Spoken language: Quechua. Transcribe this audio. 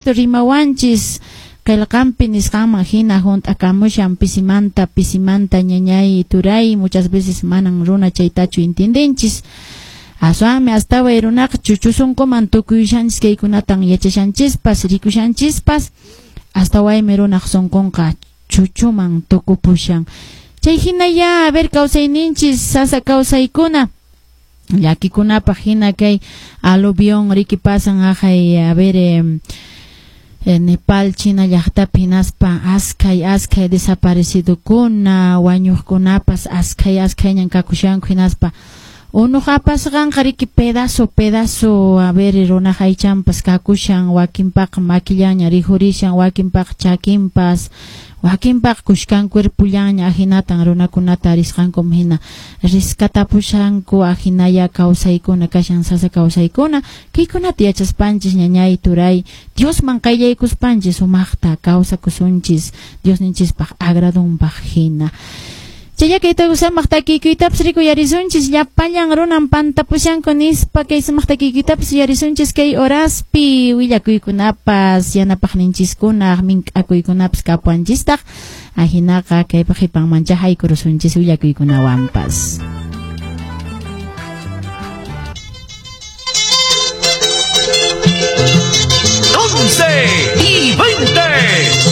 Rimawanchis qillqanpi nisqanman hina hunt'akamushan pisimanta pisimanta ñañay turay, muchas veces manan runa chaytachu entiendenchis. Aswanmi astaway runaqa chuchusunkuman tukuyushanchis kaykunatan yachashanchispas rikushanchispas, astawaymi runaq sunqunqa chuchuman tukupushan. Chay hina ya, a ver, kawsayninchis sasa kawsaykuna llakikunapaq hina kay aluvión riki pasan aqhay, a ver, Nepal, China llaqtapi hinaspa askhay askhay desaparecidokuna, wañuqkunapas askhay askhayñan kakushanku hinaspa unuq apasqanqa riki pedazo pedazo, a ver, runaq aychanpas kakushan, wakinpaqa makillaña rikhurishan, wakinpaqa chakinpas, wakinpaqa kushkan cuerpullaña, ahinatan runakunata risqankum hina rescatapushanku, ahinaya kawsaykuna kashan sasa kawsaykuna. Kaykunata yachaspanchis ñañay turay, Diosman qayllaykuspanchis sumaqta kawsakusunchis Diosninchispaq agradunpaq hina. Chaya kayta samaq takiykuytapas rikuyarisunchis llapallan runan pantapushanku nispa kay samaq takiykuytapas yuyarisunchis kay horaspi willakuykunapas yanapaqninchikuna mink'akuykunapas kapuanchistaq ahinaqa kaypa qhipanmancha haykurusunchis willakuykunawanpas. 11 y 20.